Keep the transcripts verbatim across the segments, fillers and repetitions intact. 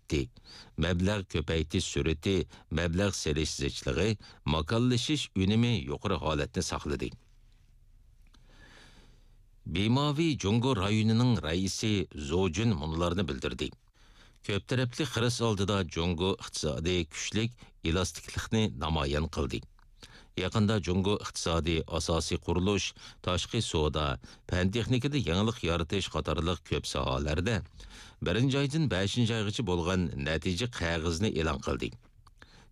سۈپىتى، مەبلەغ كۆپەيتىش سۈرئىتى، مەبلەغ سېلىش زىچلىقى، ماكانلىشىش ئۈنۈمى يۇقىرى ھالەتنى ساقلىدى. بىماۋى جۇڭگو رايونىنىڭ رەئىسى زو جۈن مۇنۇلارنى بىلدۈردى. كۆپ تەرەپلىك خىرىس ئالدىدا جۇڭگو ئىقتىسادى كۈچلۈك ئېلاستىكلىقنى نامايان قىلدى. يېقىندا جۇڭگو ئىقتىسادى ئاساسىي قۇرۇلۇش، تاشقى سودا، پەن تېخنىكىدا يېڭىلىق يارىتىش قاتارلىق كۆپ ساھەلەردە بىرىنچى ئايدىن بەشىنچى ئايغىچە بولغان نەتىجە قەغىزىنى ئېلان قىلدى.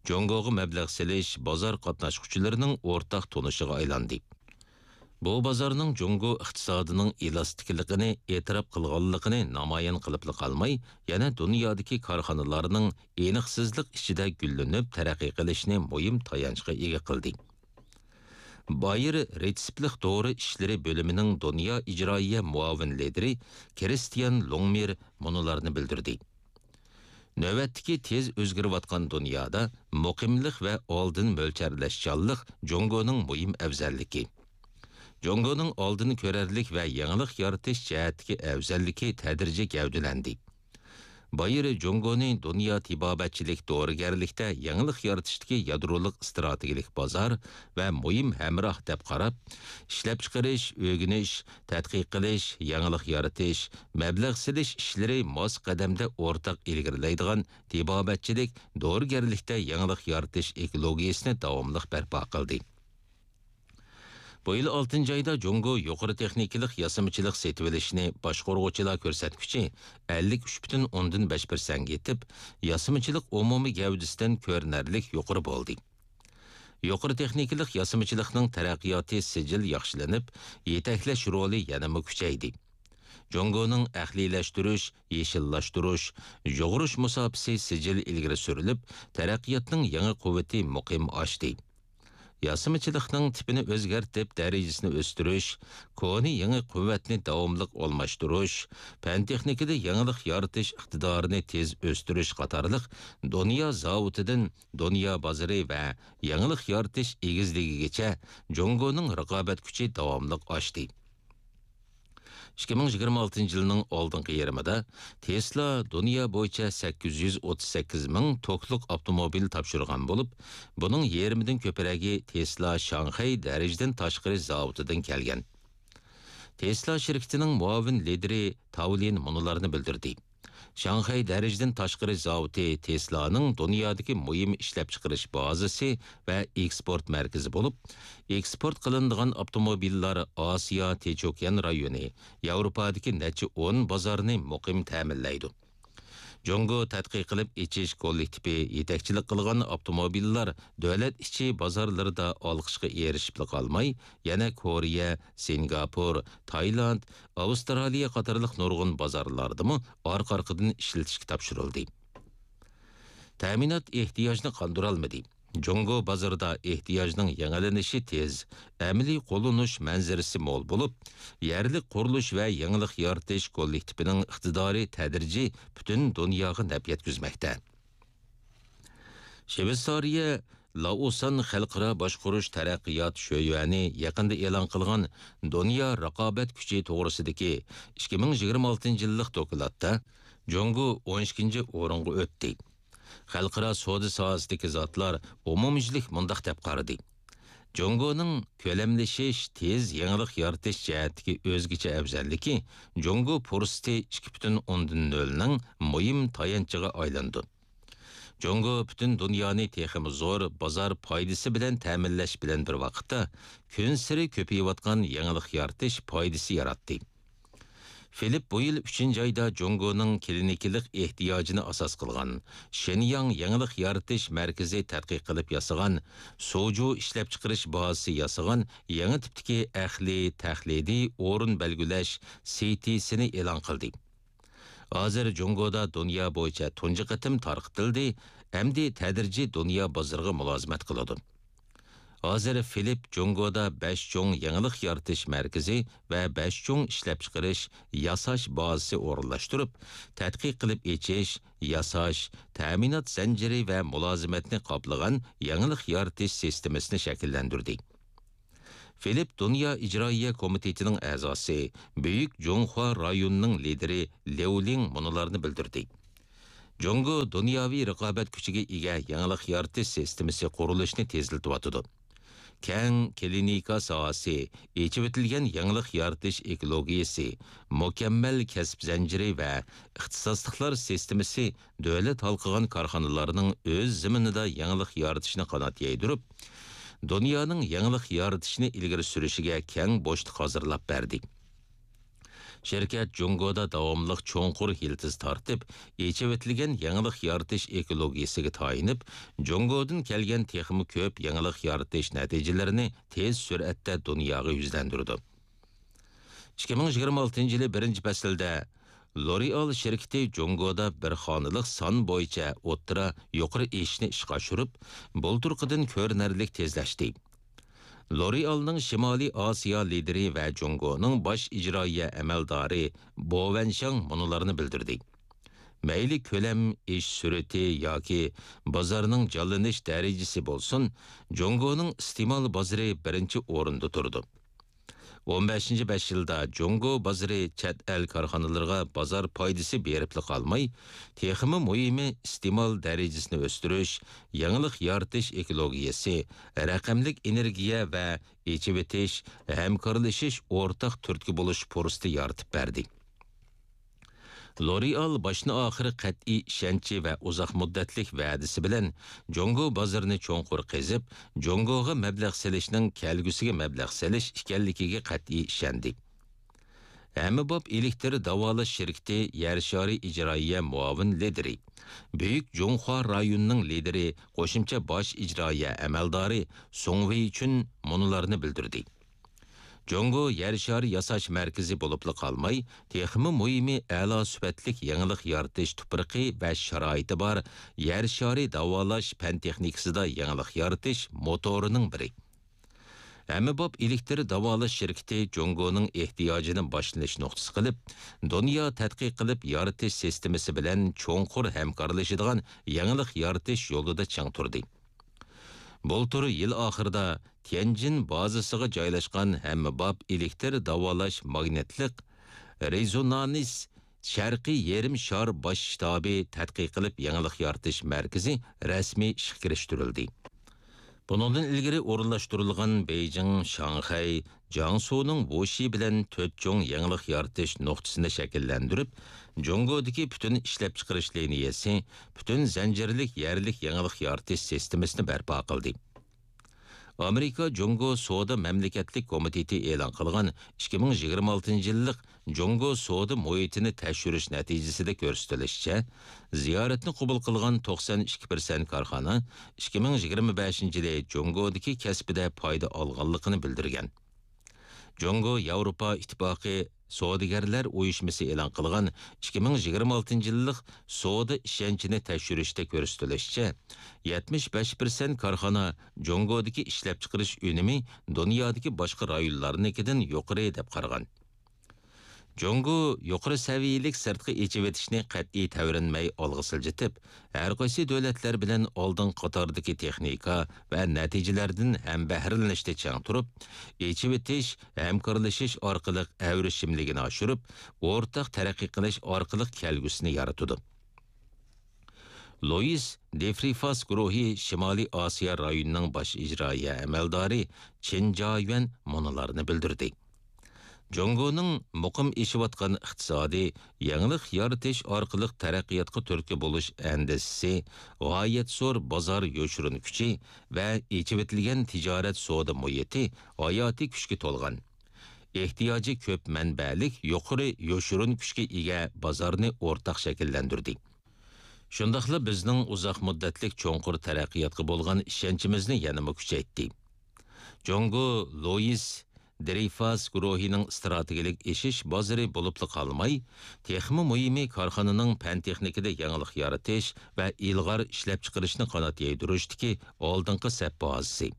جۇڭگوغا مەبلەغ سېلىش بازار قاتناشقۇچىلىرىنىڭ ئورتاق تونۇشىغا ئايلاندى. بۇ بازارنىڭ جۇڭگو ئىقتىسادىنىڭ ئېلاستىكلىقىنى ئېتىراپ قىلغانلىقىنى نامايان قىلىپلا قالماي، يەنە دۇنيادىكى كارخانىلارنىڭ ئېنىقسىزلىق ئىچىدە گۈللىنىپ تەرەققىي قىلىشىنى مۇھىم تايانچقا ئىگە قىلدى. بايېر رېتسېپلىق دورا ئىشلىرى بۆلۈمىنىڭ دۇنيا ئىجرائىيە مۇئاۋىن لىدىرى كرىستىيان لۇڭمىر مۇنۇلارنى بىلدۈردى. نۆۋەتتىكى تېز ئۆزگىرىۋاتقان دۇنيادا مۇقىملىق ۋە ئالدىن مۆلچەرلەشچانلىق جۇڭگونىڭ مۇھىم ئەۋزەللىكى. جۇڭگونىڭ ئالدىن كۆرەرلىك ۋە يېڭىلىق يارىتىش جەھەتتىكى ئەۋزەللىكى تەدرىجىي گەۋدىلەندى. بايېر جۇڭگونى دۇنيا تېبابەتچىلىك دورىگەرلىكتە يېڭىلىق يارىتىشتىكى يادرولۇق ئىستراتېگىيەلىك بازار ۋە مۇھىم ھەمراھ دەپ قاراپ، ئىشلەپچىقىرىش، ئۆگىنىش، تەتقىق قىلىش، يېڭىلىق يارىتىش، مەبلەغ سېلىش ئىشلىرى ماس قەدەمدە ئورتاق ئىلگىرىلەيدىغان تېبابەتچىلىك، دورىگەرلىكتە يېڭىلىق يارىتىش ئېكولوگىيەسىنى داۋاملىق بەرپا قىلدى. بۇ يىل ئالتىنچى ئايدا جۇڭگو يۇقىرى تېخنىكىلىق ياسىمىچىلىق سېتىۋېلىشنى باشقۇرغۇچىلار كۆرسەتكۈچى ئەللىك ئۈچ پۈتۈن ئوندىن بەش پىرسەنتكە يېتىپ، ياسىمىچىلىق ئومۇمىي گەۋدىسىدىن كۆرۈنەرلىك يۇقىرى بولدى. يۇقىرى تېخنىكىلىق ياسىمىچىلىقنىڭ تەرەققىياتى سىجىل ياخشىلىنىپ، يېتەكلەش رولى يەنىمۇ كۈچەيدى. جۇڭگونىڭ ئەقلىيلەشتۈرۈش، يېشىللاشتۇرۇش، يۇغۇرۇش مۇساپىسى سىجىل ئىلگىرى سۈرۈلۈپ، تەرەققىياتنىڭ يېڭى قۇۋۋىتى مۇقىم ئاشتى. ياسىمىچىلىقنىڭ تىپىنى ئۆزگەرتىپ، دەرىجىسىنى ئۆستۈرۈش، كونا يېڭى قۇۋۋەتنى داۋاملىق ئالماشتۇرۇش، پەن-تېخنىكىدا يېڭىلىق يارىتىش ئىقتىدارىنى تېز ئۆستۈرۈش قاتارلىق دۇنيا زاۋۇتىدىن دۇنيا بازىرى ۋە يېڭىلىق يارىتىش ئېگىزلىكىگىچە جۇڭگونىڭ رىقابەت كۈچى داۋاملىق ئاشتى. ئىككى مىڭ يىگىرمە ئالتىنچى يىلنىڭ ئالدىنقى يېرىمىدا تېسلا دۇنيا بويىچە سەككىز يۈز ئوتتۇز سەككىز مىڭ توكلۇق ئاپتوموبىل تاپشۇرغان بولۇپ، بۇنىڭ يېرىمىدىن كۆپرەكى تېسلا شاڭخەي دەرىجىدىن تاشقىرى زاۋۇتىدىن كەلگەن. تېسلا شىركىتىنىڭ مۇئاۋىن لىدىرى تاۋلىن مۇنۇلارنى بىلدۈردى. شاڭخەي دەرىجىدىن تاشقىرى زاۋۇتى تېسلانىڭ دۇنيادىكى مۇھىم ئىشلەپچىقىرىش بازىسى ۋە ئېكسپورت مەركىزى بولۇپ، ئېكسپورت قىلىنىدىغان ئاپتوموبىللار ئاسىيا تىنچ ئوكيان رايونى، ياۋروپادىكى نەچچە ئون بازارنى مۇقىم تەمىنلەيدۇ. جۇڭگو تەتقىق قىلىپ ئېچىش كوللېكتىپى يېتەكچىلىك قىلغان ئاپتوموبىللار دۆلەت ئىچى بازارلىرىدا ئالقىشقا ئېرىشىپلا قالماي، يەنە كورېيە، سىنگاپور، تايلاند، ئاۋسترالىيە قاتارلىق نۇرغۇن بازارلاردىمۇ ئارقا-ئارقىدىن ئىشلىتىشكە تاپشۇرۇلدى. تەمىنات ئېھتىياجنى قاندۇرالمىدى. جۇڭگو بازىرىدا ئېھتىياجنىڭ يېڭىلىنىشى تېز، ئەمەلىي قوللىنىش مەنزىرىسى مول بولۇپ، يەرلىك قۇرۇلۇش ۋە يېڭىلىق يارىتىش كوللېكتىپىنىڭ ئىقتىدارى تەدرىجىي پۈتۈن دۇنياغا نەپ يەتكۈزمەكتە. شىۋېتسارىيە لائوسان خەلقئارا باشقۇرۇش تەرەققىيات شۆيۈەنى يېقىندا ئېلان قىلغان دۇنيا رىقابەت كۈچى توغرىسىدىكى ئىككى مىڭ يىگىرمە ئالتىنچى يىللىق دوكلاتتا جۇڭگو ئون ئىككىنچى ئورۇنغا ئۆتتى. خەلقئارا سودا ساھەسىدىكى زاتلار ئومۇميۈزلۈك مۇنداق دەپ قارىدى: جۇڭگونىڭ كۆلەملىشىش، تېز يېڭىلىق يارىتىش جەھەتتىكى ئۆزگىچە ئەۋزەللىكى جۇڭگو پۇرسىتى ئىككى پۈتۈن ئوندىن نۆلنىڭ مۇھىم تايانچىغا ئايلىنىدۇ. جۇڭگو پۈتۈن دۇنيانى تېخىمۇ زور بازار پايدىسى بىلەن تەمىنلەش بىلەن بىر ۋاقىتتا، كۈنسېرى كۆپىيىۋاتقان يېڭىلىق يارىتىش پايدىسى ياراتتى. فىلىپ بۇ يىل ئۈچىنچى ئايدا جۇڭگونىڭ كلىنىكىلىق ئېھتىياجىنى ئاساس قىلغان شېنياڭ يېڭىلىق يارىتىش مەركىزى تەتقىق قىلىپ ياسىغان سوجۇ ئىشلەپچىقىرىش بازىسى ياسىغان يېڭى تىپتىكى ئەقلىي تەقلىدىي ئورۇن بەلگىلەش سىتىسىنى ئېلان قىلدى. ھازىر جۇڭگودا دۇنيا بويىچە تۇنجى قېتىم تارقىتىلدى، ئەمدى تەدرىجىي دۇنيا بازىرىغا مۇلازىمەت قىلىدۇ. ھازىر فىلىپ جۇڭگودا بەش چوڭ يېڭىلىق يارىتىش مەركىزى ۋە بەش چوڭ ئىشلەپچىقىرىش، ياساش بازىسى ئورۇنلاشتۇرۇپ، تەتقىق قىلىپ ئېچىش، ياساش، تەمىنات زەنجىرى ۋە مۇلازىمەتنى قاپلىغان يېڭىلىق يارىتىش سىستېمىسىنى شەكىللەندۈردى. فىلىپ دۇنيا ئىجرائىيە كومىتېتىنىڭ ئەزاسى، بۈيۈك جۇڭخۇا رايونىنىڭ لىدىرى ليۇ لىڭ مۇنۇلارنى بىلدۈردى: جۇڭگو دۇنياۋى رىقابەت كۈچىگە ئىگە يېڭىلىق يارىتىش سىستېمىسى قۇرۇلۇشىنى تېزلىتىۋاتىدۇ. كەڭ كلىنىكا ساھەسى، ئېچىۋېتىلگەن يېڭىلىق يارىتىش ئېكولوگىيەسى، مۇكەممەل كەسىپ زەنجىرى ۋە ئىختىساسلىقلار سىستېمىسى دۆلەت ھالقىغان كارخانىلارنىڭ ئۆز زېمىنىدا يېڭىلىق يارىتىشىنى قانات يايدۇرۇپ، دۇنيانىڭ يېڭىلىق يارىتىشنى ئىلگىرى سۈرۈشىگە كەڭ بوشلۇق ھازىرلاپ بەردى. شىركەت جۇڭگودا داۋاملىق چوڭقۇر يىلتىز تارتىپ، ئېچىۋېتىلگەن يېڭىلىق يارىتىش ئېكولوگىيەسىگە تايىنىپ، جۇڭگودىن كەلگەن تېخىمۇ كۆپ يېڭىلىق يارىتىش نەتىجىلىرىنى تېز سۈرئەتتە دۇنياغا يۈزلەندۈرىدۇ. ئىككى مىڭ يىگىرمە ئالتىنچى يىلى بىرىنچى پەسىلدە لورېئال شىركىتى جۇڭگودا بىر خانىلىق سان بويىچە ئوتتۇرا يۇقىرى ئېشىشنى ئىشقا ئاشۇرۇپ، بۇلتۇرقىدىن كۆرۈنەرلىك تېزلەشتى. لورېئالنىڭ شىمالىي ئاسىيا لىدىرى ۋە جۇڭگونىڭ باش ئىجرائىيە ئەمەلدارى بو ۋەنشاڭ مۇنۇلارنى بىلدۈردى: مەيلى كۆلەم، ئېشىش سۈرئىتى ياكى بازارنىڭ جانلىنىش دەرىجىسى بولسۇن، جۇڭگونىڭ ئىستېمال بازىرى بىرىنچى ئورۇندا تۇرىدۇ. ئون بەشىنچى بەش يىلدا جۇڭگو بازىرى چەت ئەل كارخانىلىرىغا بازار پايدىسى بېرىپلا قالماي، تېخىمۇ مۇھىمى ئىستېمال دەرىجىسىنى ئۆستۈرۈش، يېڭىلىق يارىتىش ئېكولوگىيەسى، رەقەملىك ئېنېرگىيە ۋە ئېچىۋېتىش، ھەمكارلىشىش، ئورتاق تۈرتكە بولۇش پۇرسىتى يارىتىپ بەردى. لورېئال باشتىن ئاخىر قەتئىي ئىشەنچى ۋە ئۇزاق مۇددەتلىك ۋەدىسى بىلەن جۇڭگو بازىرىنى چوڭقۇر قېزىپ، جۇڭگوغا مەبلەغ سېلىشنىڭ كەلگۈسىگە مەبلەغ سېلىش ئىكەنلىكىگە قەتئىي ئىشەندى. ھەممىباب ئېلېكتر داۋالاش شىركىتى يەر شارى ئىجرائىيە مۇئاۋىن لىدىرى، بۈيۈك جۇڭخۇا رايونىنىڭ لىدىرى، قوشۇمچە باش ئىجرائىيە ئەمەلدارى سۇڭ ۋېيچۈن مۇنۇلارنى بىلدۈردى: جۇڭگو يەر شارى ياساش مەركىزى بولۇپلا قالماي، تېخىمۇ مۇھىمى ئەلا سۈپەتلىك يېڭىلىق يارىتىش تۇپرىقى ۋە شارائىتى بار يەر شارى داۋالاش پەن تېخنىكىسىدا يېڭىلىق يارىتىش موتورىنىڭ بىرى. ھەممىباب ئېلېكتر داۋالاش شىركىتى جۇڭگونىڭ ئېھتىياجىنى باشلىنىش نۇقتىسى قىلىپ، دۇنيا تەتقىق قىلىپ يارىتىش سىستېمىسى بىلەن چوڭقۇر ھەمكارلىشىدىغان يېڭىلىق يارىتىش يولىدا چىڭ تۇردى. بۇلتۇر يىل ئاخىرىدا تيەنجىن بازىسىغا جايلاشقان ھەممىباب ئېلېكتر داۋالاش ماگنىتلىق رېزونانس شەرقىي يېرىم شار باش شتابى تەتقىق قىلىپ يېڭىلىق يارىتىش مەركىزى رەسمىي ئىشقا كىرىشتۈرۈلدى. بۇنىڭدىن ئىلگىرى ئورۇنلاشتۇرۇلغان بېيجىڭ، شاڭخەي، جياڭسۇنىڭ ۋۇشى بىلەن تۆت چوڭ يېڭىلىق يارىتىش نۇقتىسىنى شەكىللەندۈرۈپ، جۇڭگودىكى پۈتۈن ئىشلەپچىقىرىش لىنىيەسى، پۈتۈن زەنجىرلىك يەرلىك يېڭىلىق يارىتىش سىستېمىسىنى بەرپا قىلدى. ئامېرىكا جۇڭگو سودا مەملىكەتلىك كومىتېتى ئېلان قىلغان ئىككى مىڭ يىگىرمە ئالتىنچى يىللىق جۇڭگو سودا مۇھىتىنى تەكشۈرۈش نەتىجىسىدە كۆرسىتىلىشىچە، زىيارەتنى قوبۇل قىلغان توقسان ئىككى پىرسەنت كارخانا ئىككى مىڭ يىگىرمە بەشىنچى يىلى جۇڭگودىكى كەسپىدە پايدا ئالغانلىقىنى بىلدۈرگەن. جۇڭگو ياۋروپا ئىتتىپاقى سودىگەرلەر ئۇيۇشمىسى ئېلان قىلغان ئىككى مىڭ يىگىرمە ئالتىنچى يىللىق سودا ئىشەنچىنى تەكشۈرۈشتە كۆرسىتىلىشىچە، يەتمىش بەش پىرسەنت كارخانا جۇڭگودىكى ئىشلەپچىقىرىش ئۈنۈمى دۇنيادىكى باشقا رايونلارنىڭكىدىن يۇقىرى دەپ قارىغان. جۇڭگو يۇقىرى سەۋىيەلىك سىرتقا ئېچىۋېتىشنى قەتئىي تەۋرەنمەي ئالغا سىلجىتىپ، ھەرقايسى دۆلەتلەر بىلەن ئالدىنقى قاتاردىكى تېخنىكا ۋە نەتىجىلەردىن ھەمبەھرىلىنىشتە چىڭ تۇرۇپ، ئېچىۋېتىش، ھەمكارلىشىش ئارقىلىق ئەۋرىشىملىكىنى ئاشۇرۇپ، ئورتاق تەرەققىي قىلىش ئارقىلىق كەلگۈسىنى يارىتىدۇ. لويىس دېفرىفاس گۇرۇھى شىمالىي ئاسىيا رايونىنىڭ باش ئىجرائىيە ئەمەلدارى چىن جايۈەن مۇنۇلارنى بىلدۈردى. جۇڭگونىڭ مۇقىم ئېشىۋاتقان ئىقتىسادىي يېڭىلىق يارىتىش ئارقىلىق تەرەققىياتقا تۈرتكە بولۇش ئەندىزىسى، غايەت زور بازار يوشۇرۇن كۈچى ۋە ئېچىۋېتىلگەن تىجارەت سودا مۇھىتى ھاياتىي كۈچكە تولغان، ئېھتىياجى كۆپ مەنبەلىك يۇقىرى يوشۇرۇن كۈچكە ئىگە بازارنى ئورتاق شەكىللەندۈردى. شۇنداقلا بىزنىڭ ئۇزاق مۇددەتلىك چوڭقۇر تەرەققىياتقا بولغان ئىشەنچىمىزنى يەنىمۇ كۈچەيتتى. جۇڭگو لويىس درېيفاس گۇرۇھىنىڭ ئىستراتېگىيەلىك ئېشىش بازىرى بولۇپلا قالماي، تېخىمۇ مۇھىمى كارخانىنىڭ پەن-تېخنىكىدا يېڭىلىق يارىتىش ۋە ئىلغار ئىشلەپچىقىرىشنى قانات يايدۇرۇشتىكى ئالدىنقى سەپ بازىسى.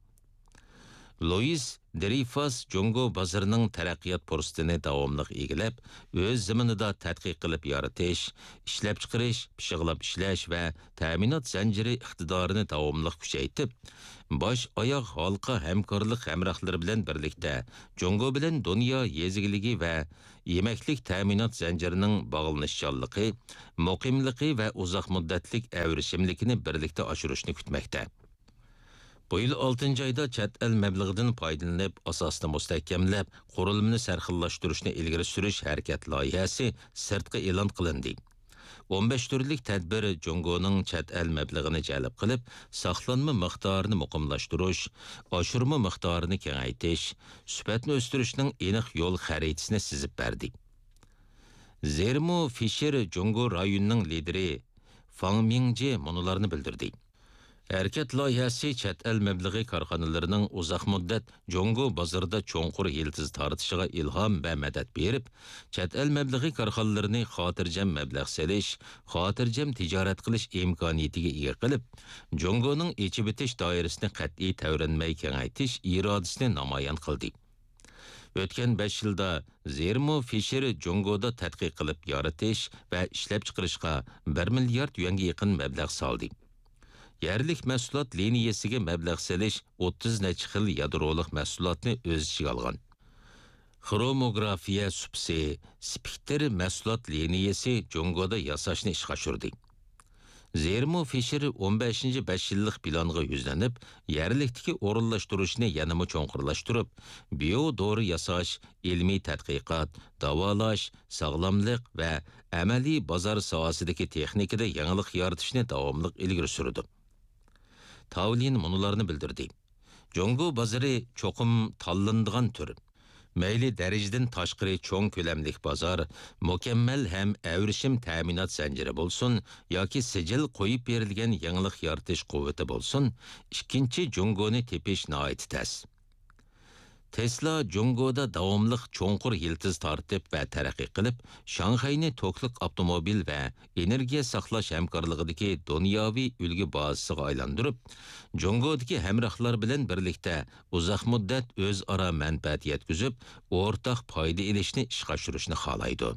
لويىس درىفاس جۇڭگو بازىرىنىڭ تەرەققىيات پۇرسىتىنى داۋاملىق ئىگىلەپ، ئۆز زېمىنىدا تەتقىق قىلىپ يارىتىش، ئىشلەپچىقىرىش، پىششىقلاپ ئىشلەش ۋە تەمىنات زەنجىرى ئىقتىدارىنى داۋاملىق كۈچەيتىپ، باش ئاياغ ھالقا ھەمكارلىق ھەمراھلىرى بىلەن بىرلىكتە جۇڭگو بىلەن دۇنيا يېزا ئىگىلىكى ۋە يېمەكلىك تەمىنات زەنجىرىنىڭ باغلىنىشچانلىقى، مۇقىملىقى ۋە ئۇزاق مۇددەتلىك ئەۋرىشىملىكىنى بىرلىكتە ئاشۇرۇشنى كۈتمەكتە. بۇ يىل ئالتىنچى ئايدا چەت ئەل مەبلىغىدىن پايدىلىنىپ، ئاساسنى مۇستەھكەملەپ، قۇرۇلمىنى سەرخىللاشتۇرۇشنى ئىلگىرى سۈرۈش ھەرىكەت لايىھەسى سىرتقا ئېلان قىلىندى. ئون بەش تۈرلۈك تەدبىر جۇڭگونىڭ چەت ئەل مەبلىغىنى جەلپ قىلىپ، ساقلانما مىقدارىنى مۇقىملاشتۇرۇش، ئاشۇرما مىقدارىنى كېڭەيتىش، سۈپەتنى ئۆستۈرۈشنىڭ ئېنىق يول خەرىتىسىنى سىزىپ بەردى. زېرمو فىشېر جۇڭگو رايونىنىڭ لىدىرى فاڭ مىڭجې مۇنۇلارنى بىلدۈردى. ھەرىكەت لايىھەسى چەت ئەل مەبلىغى كارخانىلىرىنىڭ ئۇزاق مۇددەت جۇڭگو بازىرىدا چوڭقۇر يىلتىز تارتىشىغا ئىلھام ۋە مەدەت بېرىپ، چەت ئەل مەبلىغى كارخانىلىرىنى خاتىرجەم مەبلەغ سېلىش، خاتىرجەم تىجارەت قىلىش ئىمكانىيىتىگە ئىگە قىلىپ، جۇڭگونىڭ ئېچىۋېتىش دائىرىسىنى قەتئىي تەۋرەنمەي كېڭەيتىش ئىرادىسىنى نامايان قىلدى. ئۆتكەن بەش يىلدا زېرمو فىشېر جۇڭگودا تەتقىق قىلىپ يارىتىش ۋە ئىشلەپچىقىرىشقا بىر مىليارد يۈەنگە يېقىن مەبلەغ سالدى. يەرلىك مەھسۇلات لىنىيەسىگە مەبلەغ سېلىش ئوتتۇز نەچچە خىل يادرولۇق مەھسۇلاتنى ئۆز ئىچىگە ئالغان. خروموگرافىيە سۇپىسى، سپېكتىر مەھسۇلات لىنىيەسى جۇڭگودا ياساشنى ئىشقا ئاشۇردى. زېرمو فىشېر ئون بەشىنچى بەش يىللىق پىلانغا يۈزلىنىپ، يەرلىكتىكى ئورۇنلاشتۇرۇشنى يەنىمۇ چوڭقۇرلاشتۇرۇپ، بىيو دورا ياساش، ئىلمىي تەتقىقات، داۋالاش، ساغلاملىق ۋە ئەمەلىي بازار ساھەسىدىكى تېخنىكىدا يېڭىلىق يارىتىشنى داۋاملىق ئىلگىرى سۈرىدۇ. تاۋلىن مۇنۇلارنى بىلدۈردى. جۇڭگو بازىرى چوقۇم تاللىنىدىغان تۈر. مەيلى دەرىجىدىن تاشقىرى چوڭ كۆلەملىك بازار، مۇكەممەل ھەم ئەۋرىشىم تەمىنات زەنجىرى بولسۇن ياكى سىجىل قويۇپ بېرىلگەن يېڭىلىق يارىتىش قۇۋۋىتى بولسۇن، ئىككىنچى جۇڭگونى تېپىش ناھايىتى تەس. تېسلا جۇڭگودا داۋاملىق چوڭقۇر يىلتىز تارتىپ ۋە تەرەققىي قىلىپ، شاڭخەينى توكلۇق ئاپتوموبىل ۋە ئېنېرگىيە ساقلاش ھەمكارلىقىدىكى دۇنياۋى ئۈلگە بازىسىغا ئايلاندۇرۇپ، جۇڭگودىكى ھەمراھلار بىلەن بىرلىكتە ئۇزاق مۇددەت ئۆزئارا مەنپەئەت يەتكۈزۈپ، ئورتاق پايدا ئېلىشنى ئىشقا ئاشۇرۇشنى خالايدۇ.